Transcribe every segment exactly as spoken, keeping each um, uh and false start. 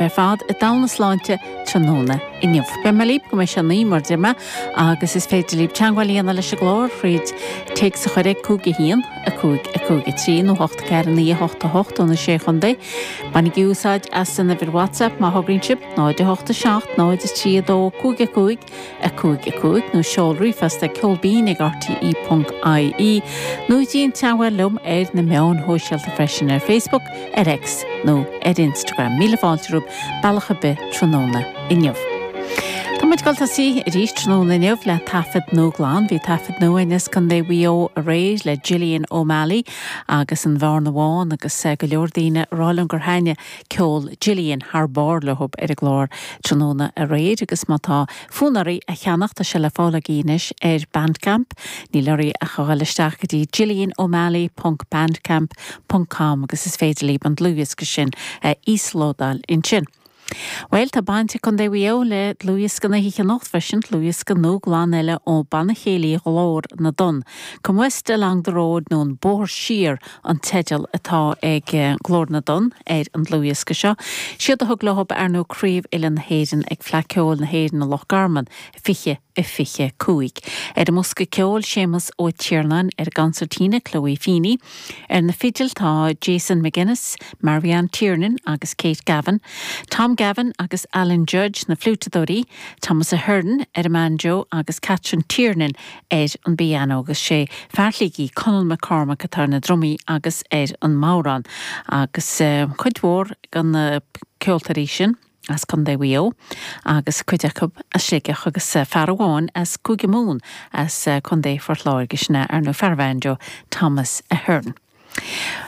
Ar fad i dTamhna Sláinte tráthnóna inniu. Beidh mé libh go mbeidh sé naoi mar deir mé agus is féidir libh teagmháil a dhéanamh leis an gclár thríd téacs a chur ag cúig a haon, a cúig, a cúig a trí nó hocht ceathair naoi a hocht a hocht ó na Sé Chontae. Bainigí úsáid as an uimhir WhatsApp má thograíonn sibh, náid a hocht a seacht, náid a trí a dó, cúig a cúig, a cúig a cúig nó seol ríomhphost ag ceolbinn ag rte ponc ie nó déan teagmháil liom ar na meáin shóisialta freisin ar Facebook, ar X nó ar Instagram. Míle fáilte romhaibh bealach ar bith tráthnóna inniu. Tá muid ag dul tosaí arís tráthnóna inniu le taifead nua glan. Bhí taifead nua as Contae Mhaigh Eo aréir le Gillian O'Malley agus an Bhearna Bhán agus go leor daoine ag rá liom gur thaitnigh ceol Gillian thar barr leo ar an gclár tráthnóna aréir agus má tá fonn oraibh a cheannach tá sé le fáil agaibh anois ar Bandcamp. Níl oraibh ach a dhul isteach go dtí gillianomalley ponc bandcamp ponc com agus is féidir libh an dlúthdhiosca sin a íoslódáil ansin. Bhuel, tá baint ag Contae Mhaigh Eo le dlúthdhiosca na hoíche anocht freisin, dlúthdhiosca nua glan eile ó Banna Céilí Ghlór na dTonn. Come West Along the Road nó an Bóthar Siar an teideal atá ag Glór na dTonn ar an dlúthdhiosca seo. Siad a thug leo ar ndóigh Craobh Uile na hÉireann ag Fleadh Ceoil na hÉireann i Loch Garman fiche a fiche cúig. Ar an mbosca ceoil Séamus Ó Tiarnáin, ar an gconsairtín Chloe Feeney, ar na fidil tá Jason McGuinness, Marianne Tiernan agus Kate Gavin, Tom Gavin agus Alan Judge na fliúiteadóirí, Thomas Ahern ar an mbanjo agus Catherine Tiernan ar an bpianó agus sé fear Shligigh Conall McCormack atá ar na drumaí agus ar an mbodhrán agus cuid mhór de na ceoltóirí sin. as Contae Mhaigh Eo agus cuid acu as Sligeach agus fear amháin as Cúige Mumhan as Contae Phort Láirge sin é ar ndóigh fear banjo Thomas Ahern.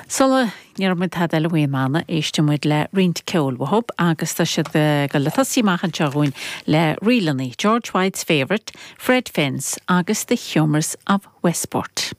Sula ndéarfaidh muid tada eile faoin mbanna éistfidh muid le roinnt ceoil uathu agus tá siad ag dul a tosaí amach anseo dhúinn le ríleanna George White's Favourite, Fred Fence agus The Humours of Westport.